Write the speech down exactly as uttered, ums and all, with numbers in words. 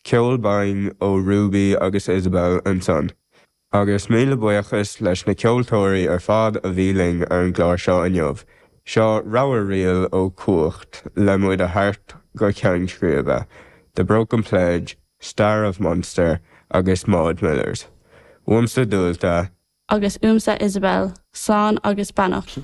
Ceol binn ó Ruby agus Isabel ansan. Agus míle buíochas leis na ceoltóirí ar fad a bhí linn ar an gclár seo inniu. Seo rogha ríl ó Cumhacht le muid a thabhairt go ceann scríbe, The Broken Pledge, Star of Munster agus Maud Millers. Uaimse Dualta agus uaimse Isabel, slán agus beannacht.